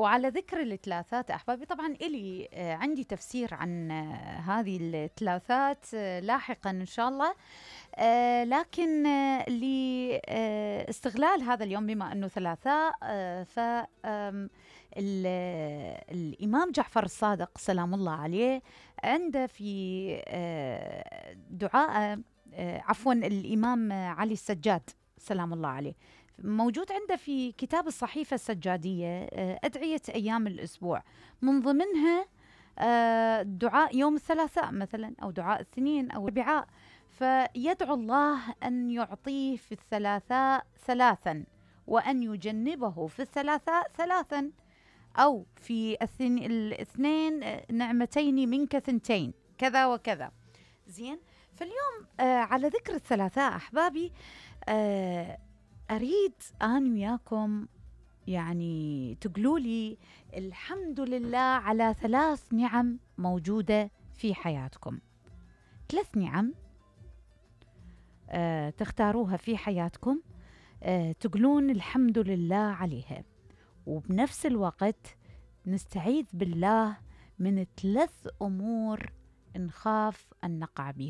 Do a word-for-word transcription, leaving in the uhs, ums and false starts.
وعلى ذكر الثلاثات أحبابي، طبعا إلي آه عندي تفسير عن آه هذه الثلاثات آه لاحقا إن شاء الله. آه لكن آه لاستغلال آه هذا اليوم بما أنه ثلاثاء، آه ف الإمام جعفر الصادق سلام الله عليه عنده في آه دعاء آه عفوا الإمام علي السجاد سلام الله عليه موجود عنده في كتاب الصحيفة السجادية أدعية أيام الأسبوع، من ضمنها دعاء يوم الثلاثاء مثلا، أو دعاء الاثنين أو الأربعاء، فيدعو الله أن يعطيه في الثلاثاء ثلاثا، وأن يجنبه في الثلاثاء ثلاثا، أو في الاثنين نعمتين منك ثنتين، كذا وكذا. زين، فاليوم آه على ذكر الثلاثاء أحبابي، آه أريد أنا وياكم يعني تقولوا لي الحمد لله على ثلاث نعم موجودة في حياتكم. ثلاث نعم آه تختاروها في حياتكم، آه تقولون الحمد لله عليها، وبنفس الوقت نستعيذ بالله من ثلاث أمور نخاف أن نقع بها.